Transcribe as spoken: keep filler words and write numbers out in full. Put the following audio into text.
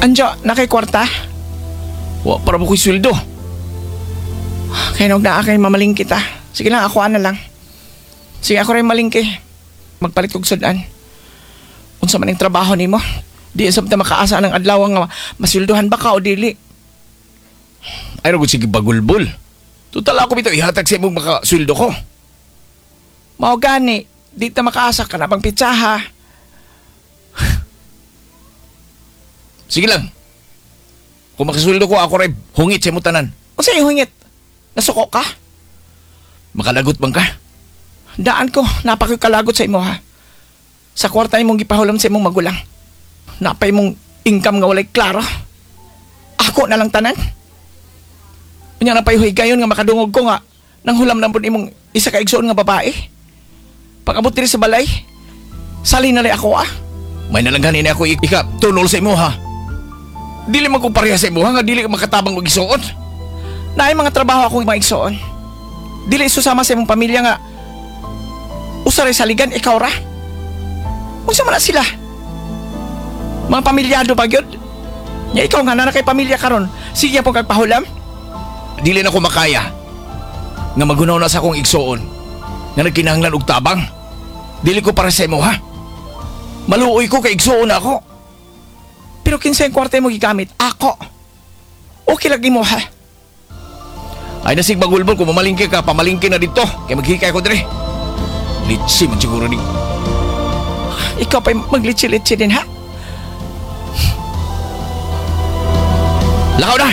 Anjo, nakay kwarta? Wa para mo ko'y sweldo. Kay nog naa kay mamalingki ta. Sige lang, ako na lang. Sige, ako rin malingki. Magpalit kog sudan. Unsa man ang trabaho nimo? Di sab ta makaasa ng adlaw nga masweldohan ba ka o dili? Ay ra gud sige bagulbol. Total ako bitaw ihatag sa imong makasweldo ko. Mao gani, di ta makaasa ka na pang pitsaha. Sige lang. Kung makasweldo ko ako ray hungit sa imong tanan. Unsa imong hungit? Nasuko ka? Makalagot man ka? Daan ko, napakikalagot sa imo ha. Sa kwarta imong gipahulam sa imong magulang. Napay imong income nga walay klaro. Ako na lang tanan. Unya napay gayon nga makadungog ko nga nang hulam na pud imong isa ka igsoon nga babae. Pag-abot diri sa balay, sali na lay ako ah. May nalangganin na ako ika tunol sa imo ha. Dili man ko pareha sa imo ha nga dili ka makatabang og igsoon. Naay mga trabaho akong mga igsoon. Dili susama sa imong pamilya nga usa ray saligan ikaw ra. Unsa man na sila? Mga pamilyado pa gyud. Nya ikaw nga naa kay pamilya karon, sige po kag pahulam. Dili na ko makaya nga magunaw na sa akong igsoon nga nagkinahanglan og tabang. Dili ko para sa imo ha. Maluoy ko kay igsoon na ako. Pero kinsa yung kwarta mo gigamit? Ako. Okay lagi mo ha. Ay nasig bagulbol kung mamalingke ka, pamalingke na dito. Kay maghikay ko dire. Litsi man siguro ni. Ikaw pa'y maglitsi-litsi din ha. Lakaw na!